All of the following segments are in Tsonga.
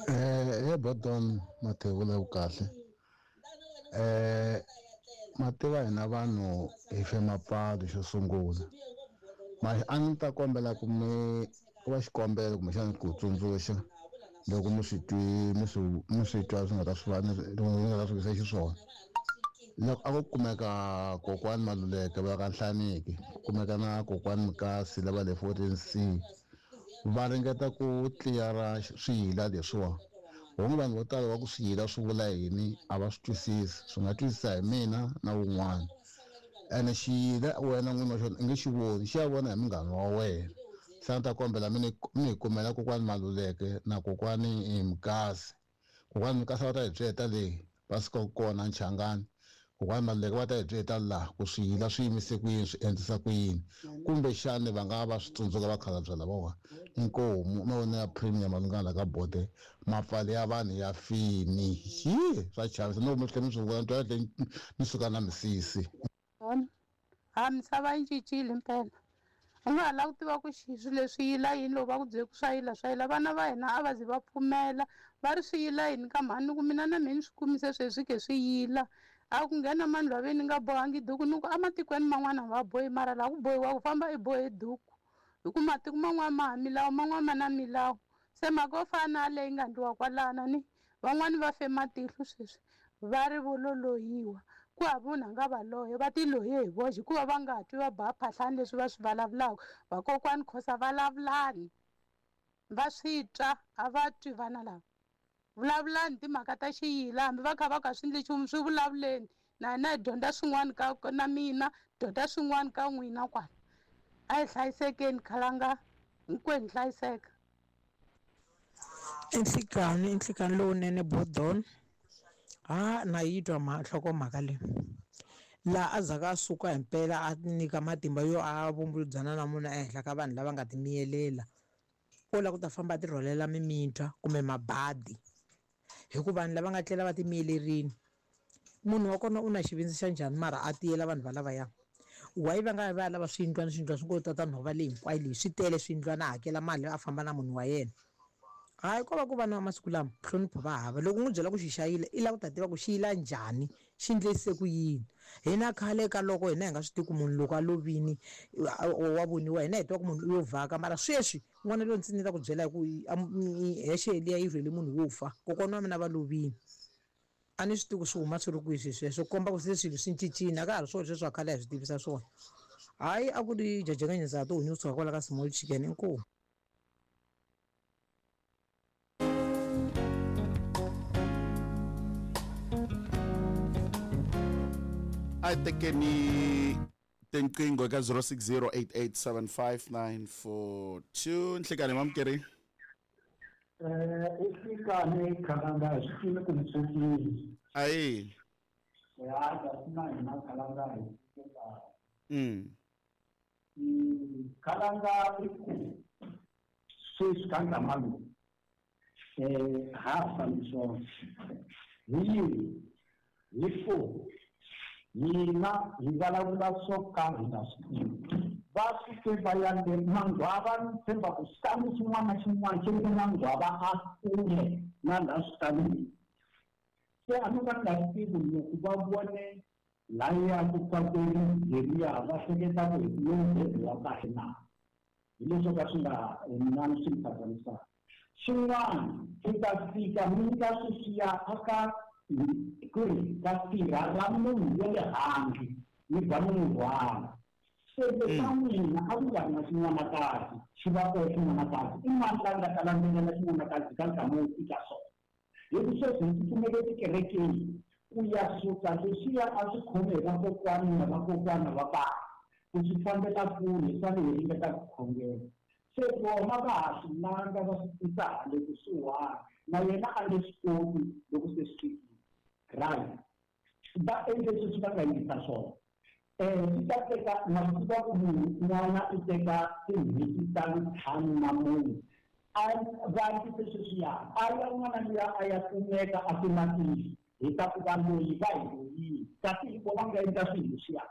He Bodon Mathevula kahle. Ma tiva hina vanhu hi fe mapfalo xo sungula. Ma a ni ta kombela ku mi ku va xikombelo kumbexana ku tsundzuxa loko mi swi twi mi swi mi swi twa swi nga ta swi va mi nga ta swi visa xiswona. Loko a ko kumeka kokwani Maluleke va ka Nhlaniki, ku kumeka na kokwani Mukasi lava le 14C va ringeta ku tliyara swiyila leswiwa. Honge vanhu vo tala va ku swiyila swi vula yini a va swi twisisi, swi nga twisisa hi mina na wun'wana. Ene xiyila wena n'wini wa xona i nge xi voni, xi ya vona hi munghana wa wena. Se a ni ta kombela mi ni mi hi kumela kokwani Maluleke na kokwani Mukasi. Kokwani Mukasi va ta hi byela leyi va sukaka kona Nchangani. Kokwani Maluleke va ta hi byela laha ku swiyila swi yimise ku yini swi endlisa ku yini. Kumbexani va nga va swi tsundzuka vakhalabye lavawa. Inkomu mavonelo ya Premier malungana ka Bode mapfalo ya vanhu ya fini. Hi swa chavisa no mi tlhela mi swi vona ni twa tlhe ni suka na misisi. Vona ha misava yi cincile mpela u nga ha lava ku tiva ku xi swilo leswi yila yini loko va ku byele ku swa yila swa yila vana va hina a va ze va pfumela va ri swi yila yini ka mhani ni ku mina na mina ni swi kumise sweswi ke swi yila a ku nghena mani lwaveni ni nga bohangi duku ni ku ematikweni man'wana va bohi mara laha ku bohiwa ku famba i bohe duku hi ku matiko man'wana ma ha milawu man'wana ma na milawu se mhaka yo fana na leyi nga ndliwa kwalana ni van'wani va fe matihlo sweswi va ri vo lolohiwa ku hava munhu a nga va loya va ti loye hi voxe hikuva va nga twi va ba phahlani leswi va swi vulavulaka vakokwani khosa vulavulani va swi twa a va twi vana lava vulavulani timhaka ta xiyila hambi va kha va ka swi endli nchumu swi vulavuleni na hina hi dyondza swin'wana ka na mina dyondza swin'wana ka n'wina kwala a hi hlayisekeni khalanga hinkwenu hlayiseka. I nhlikani i nhlikani lowunene Bodon ha na yi twa nhlokomhaka leyi laha a zaka a suka himpela a nyika matimba yo a vumbuludzana na munhu ehenhla ka vanhu lava nga ti miyelela o lava ku ta famba a ti rhwalela mimintwa kumbe mabadi hikuva vanhu lava nga tlela va ti miyelerini munhu wa kona u na xivindzi xa njhani mara a tiyela vanhu valavaya why va nga va ya lava swiyindlwana swiyindlwana swi ngo tata nhova leyi hinkwayo leyi swi tele swiyindlwana a hakela mali a famba na munhu wa yena hayi ko va ku vana va masiku lama nhlonipho va hava loko n'wi byela ku xi xayile i lava ku ta tiva ku xi yila njhani xi ndlise ku yini hina khale ka loko hina hi nga swi tivi ku munhu loko a lovini wa voniwa hina hi tiva ku munhu u yo vhaka mara sweswi n'wana loyi ndzi ni ta ku byela hi ku hexe liya yi rhwele munhu wo fa kokwana wa mina va lovini a ni swi tivi ku swi huma swi ri kwihi swilo sweswo komba ku se swilo swi cincile a ka ha ri swona sweswi wa khale a hi swi tivisa swona hayi a ku ri jajekanyeza ha tihunyi kusuka kwala ka small chicken inkomu. A hi tekeni tinqingho eka 0608875942 nhlikani mamukeri. I nhlikani khalanga hi swi tivi ku mi pfukile. Ayi. Ya kasi na hina khalanga hi pfuke kahle. Khalanga i ku sweswi ka nkama lowu ha ha fambi swona hi yini hi ku hina hi vulavula swo ka hi nga swi tivi va suke va ya le manghwava ni tshemba ku xitandi xin'wana na xin'wana xi ri manghwava a kule na laha switalini se a ni ka ni nga swi tivi loko va vone laya ku fakwe leriya va hleketa ku hi lowu bebe wa kahle na hi leswo ka swi nga mina swi ni phazamisaka xin'wana swi ta fika mi nyika sweswiya aka ku ri ka sirha ra munhu wa le handle mi ba mi n'wi rhwala se leswa n'wina a ku nga ri na xin'wanakazi xi va koho xin'wanakazi i mani la nga ta landzelela xin'wanakazi ka nkama wo fika swona hi ku sweswi hi tsutsumele tikerekeni ku ya suka leswiya a swi khome hi vakokwana na vakokwana va bava ku swi fambela kule swa le hi ringeta ku khongela se vona va ha swi landza va swi tisa hale kusuhani na yena a nge swi koti loko se swi fikile right va endle sweswi va nga yisa swona swi ta teka na swi tiva ku munhu n'wana u teka tin'hweti ta ntlhanu na mune a va endlise sweswiya a ya n'wana luya a ya kumeka a kuma tihlo hi ta ku va loyi va hi loyini kasi hi vona nga endla swilo leswiya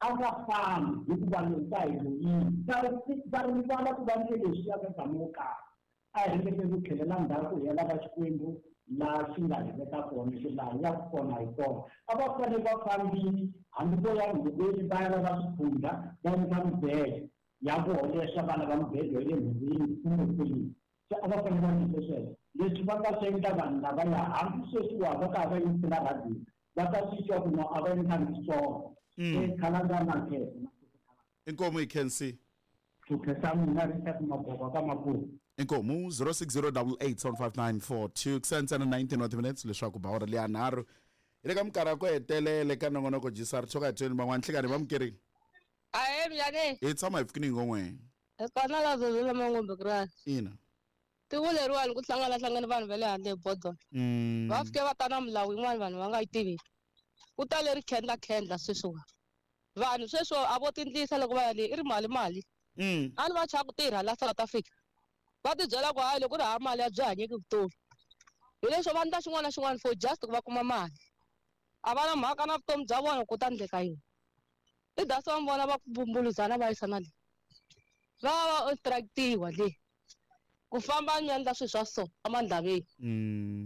a nga fambi hikuva loyi va hi loyini va rivala ku va ndle leswiya ka nkama wo karhi. A hi ringeteni ku tlhelela ndzhaku hi ya lava Xikwembu laha xi nga hi veka kona, xi laha hi yaka kona hi kona. A va fanele va fambile hambi vo ya nhoveni va ya lava swikhundla va endla mibedo ya vona leswaku va lava mibedo ya le nhoveni kumbe kwini. Se a va fanele va endlise sweswo. Leswi va nga swi endla vanhu lavaya hambi sweswiwa va ka va yingisela rhadiyo va ta swi twa ku no a va endlangi swona. Se khalanga na nkhensa. Inkomu hi khensi. Ku khensa mina Richard Magogo ka Maputo. Inkomu 0608875942 ku ntsena 19 wa timinutes leswaku ba awara leya nharhu hi le ka minkarhi ya ku hetelele ka nongonoko jisar tshoka hi tweni van'wana nhlekani va mukerini. Ahee minjhani? Hi tshama hi pfukini hi ngon'we. Hi kona la Zozela Mangombe kura. Ina. Tiko leriwani ku hlangana hlangana vanhu va le handle hi bodolo. Va fike va ta na milawu yin'wana vanhu va nga yi tiviki. Ku ta leri khendla khendla sweswiwa. Vanhu sweswo a vo tindlisa loko va ya le i ri mali mali. A ni va chava ku tirha la South Africa. Va tibyela ku hayi loko ku ri hava mali a byi hanyeki vutomi. Hi leswo va endla xin'wana na xin'wana for just ku va kuma mali. A va na mhaka na vutomi bya vona ku ta endleka yini. I dasi va vona va ku bumbuluzana va yisana le. Va va instructiwa le. Ku famba ni endla swilo swa so emandlaveni.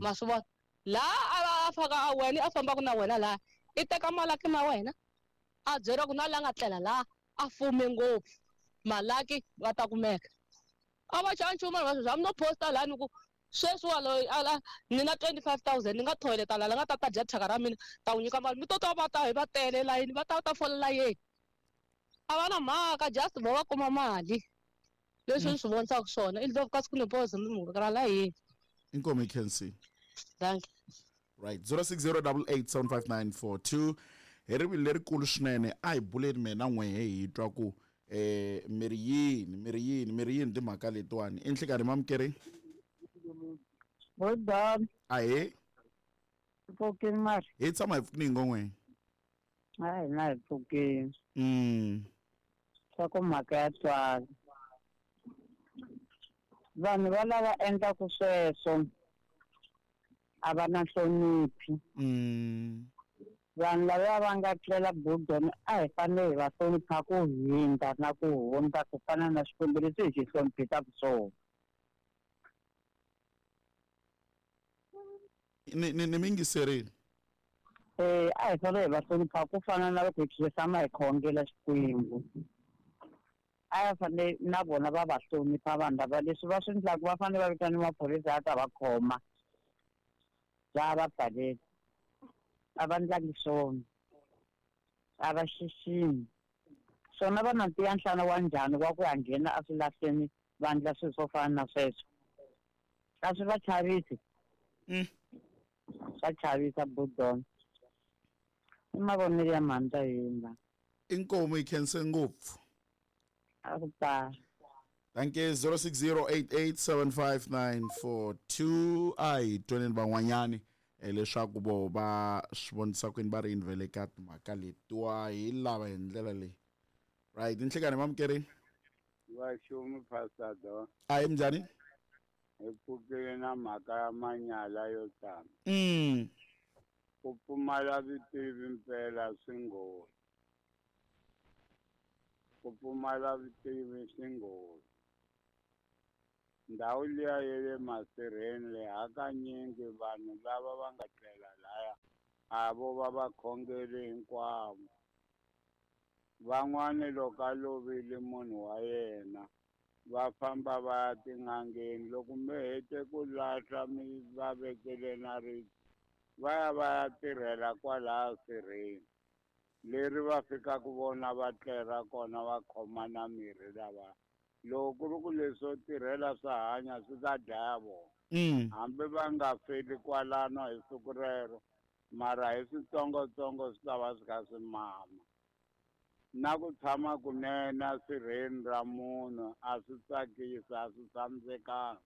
Ma swi vona? Laha a faka a wena a fambaka na wena laha i teka malaki ma wena a byeriwa ku na la nga tlela laha a fume ngopfu malaki va ta kumeka. A va xava nchumu vanhu va sweswi hambi no posta laha ni ku sweswiwa loyi a ni na 25,000 ni nga thoyileta laha la nga ta ta dya thyaka ra mina ta n'wi nyika mali mi to twa va ta hi va tele layini va ta ta fola layeni. A va na mhaka just vo va kuma mali. Leswi ni swi vonisaka swona i ndlovu kasi ku ni pause mi mhaka ra la yini. Inkomu hi khensi. Thank you. Right 0608875942 hi rivilo lerikulu swinene a hi buleni mina n'wehe hi twa ku miri yini miri yini miri yini timhaka letiwani i nhlikani mamukeri. Bodon. Ahee. Pfukini mari. Hi tshama hi pfukini ngon'we. Hayi na hi pfukini. Swa ku mhaka ya twala. Vanhu va lava endlaku sweswo a va na nhloniphi. Vanhu lava va nga tlela bodon a hi fanele hi va hlonipha ku hindza na ku hundza ku fana na Xikwembu leswi hi xi hloniphisaka swona. Ni mingiserile. A hi fanele hi va hlonipha ku fana na loko hi tshama hi khongela Xikwembu. A va fanele na vona va va hlonipha vanhu lava leswi va swi endlaka va fanele va vitana maphorisa ya ta va khoma. Va va pfalela. A va ndlangi swona. A va xiximi. Swona va na ntiya nhlana wa njhani wa ku ya nghena eswilahlweni va endla swilo swo fana na sweswo. A swi va chavisi. Swa chavisa bodon. I mavonelo ya mhani hina. Inkomu yi khense ngopfu. A ku ta. Thank you. 0608875942 a hi twaneni van'wanyani leswaku vo va swi vonisa kwini va ri yini vele ka timhaka letiwa hi lava hi ndlela leyi. Right, nhlikani mamukerini. Va xumi Pastor Don. Ahee minjhani? Hi pfukile na mhaka ya manyala yo tala. Ku pfumala vutivi mpela swi nghozi. Ku pfumala vutivi swi nghozi. Ndhawu liya ya le masirheni le hakanyingi vanhu lava va nga tlela laya a vo va vakhongeri hinkwavo. Van'wani loko a lovile munhu wa yena va famba va ya tin'angeni loko mi hete ku lahla mi va vekele na ribye va ya va ya tirhela kwalaya sirheni leri va fikaka vona va tlela kona va khoma na mirhi lava. Loko ku ri ku leswo tirhela swa hanya swi ta dlaya vona. Hambi va nga feli kwalano hi siku rero mara hi switsongotsongo swi ta va swi kha swi mama. Na ku tshama kunene sirheni ra munhu a swi tsakisi a swi tshamisekanga.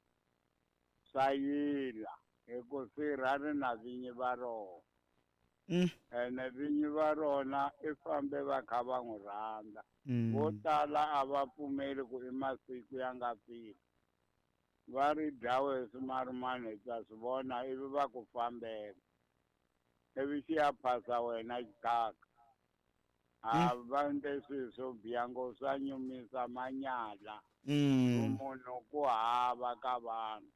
Swa yila hi ku sirha ri na vinyi va rona. Ene vinyi va rona i fambe va kha va n'wi rhandza. Vo tala a va pfumeli ku i masiku ya nga fika. Va ri dlawe hi swimarumani hi ta swi vona ivi va ku fambela. Ivi xi ya phasa wena xikaka. A va endle swilo swo biha ngopfu, swa nyumisa manyala. Munhu ku hava ka vanhu.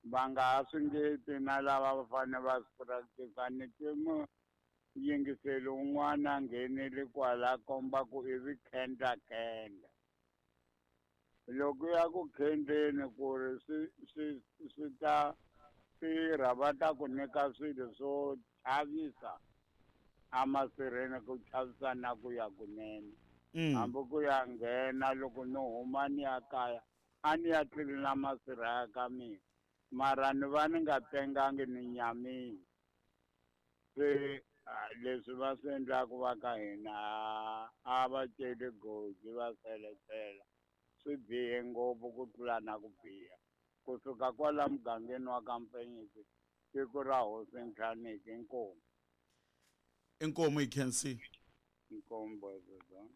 Va nga ha swi ngeti na lava va fanele va swi practice. Ni twe muyingiseli un'wana a nghenile kwala komba ku i vi khendla khendla. Loko ya ku khendleni ku ri swi ta tirha, va ta ku nyika swilo swo chavisa emasirheni, ku chavisa na ku ya kunene. Hambi ku ya nghena loko ni huma ni ya kaya, a ni ya tlilina masirha ya ka mina, mara ni va ni nga tengangi, ni nyamile. Se leswi va swi endlaku va ka hina, a va celi goji va seletela, swi bihe ngopfu ku tlula na ku biha. Kusuka kwala mugangeni wa ka Mpenyisi, tiko ra hosi Ntlhaniki. Inkomu. Inkomu, hi khensi. Inkomu, bododo.